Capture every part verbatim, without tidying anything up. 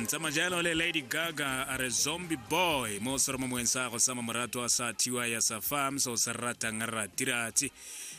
Tsamajalo le Lady Gaga a re Zombie Boy mo seromomong sa go sama morato wa sa thiwa ya sa farm so se ratang ratiratsi.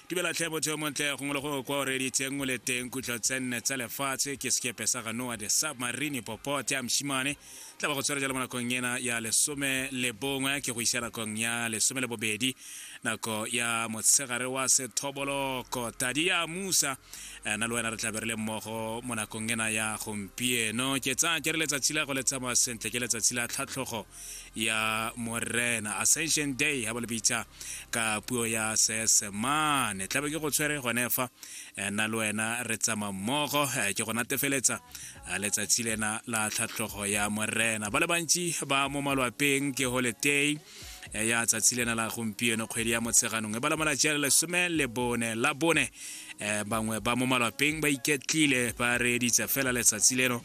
Dumela tlhe motho yo montle gongwe le gongwe kwa o reeditseng o le teng kutlo tse nne tsa lefatshe ke sekepe sa ga Noah the Submarine popote ya moshimane tla ba go tshwara jalo mo nakong ena ya lesome le bongwe ke go isa nakong ya lesome le bobedi nako ya motshegare wa sethoboloko tadi ya musa na le wena re tla be re le mmogo mo nakong ena ya gompieno. Ke tsaya ke re letsatsi la go le tsamaya sentle ke letsatsi la tlhatlhogo ya Morena, Ascension Day ha ba le bitsa ka puo ya Seesemane. Tlabe ke go tshwere gone fa nna le wena re tsamaya mmogo ke go natefeletsa letsatsi lena la tlhatlhogo ya Morena. Ba le bantsi ba mo malwapeng ke holiday ya tsatsi lena la gompieno kgwedi ya Motsheganong e bala malatsi a le lesome le bone la bone. Bangwe ba mo malwapeng ba iketlile ba reeditse fela letsatsi leno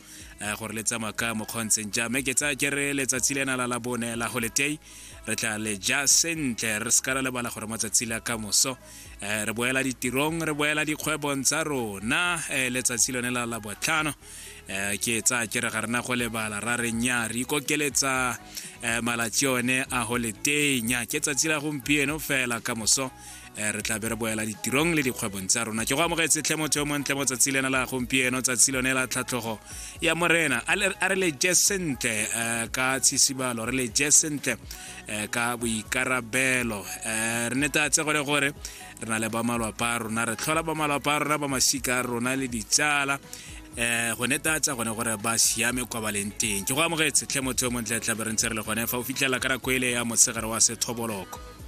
gore le tsamaya ka mokgontseng jang, mme ke tsaya ke re letsatsi lena la la bone la holiday re tla le ja sentle re se ka ra lebala gore matsatsi la ka moso re boela ditirong re boela dikgwebong tsa rona. Letsatsi lone la la botlhano ke tsaya ke re ga rena go lebala ra re nya re ikokeletsa malatsi one a holiday nya ke tsatsi la gompieno fela ka moso re tla be re boela ditirong le dikgwebong tsa rona. Ke go amogetse tlhe motho yo montle mo tsatsi lena la gompieno tsatsi lone la tlhatlhogo ya Morena. A re le je sentle ka tshisibalo re le je sentle ka boikarabelo re netatse gore gore re na le ba malwapa a rona re tlhola ba malwapa a rona ba masika a rona le ditsala eh go netatsa gone gore ba siame kwa ba leng teng. Ke go amogetse tlhe motho yo montle tla be re ntse re le gone fa o fitlhela ka nako ele ya motshegare wa sethoboloko.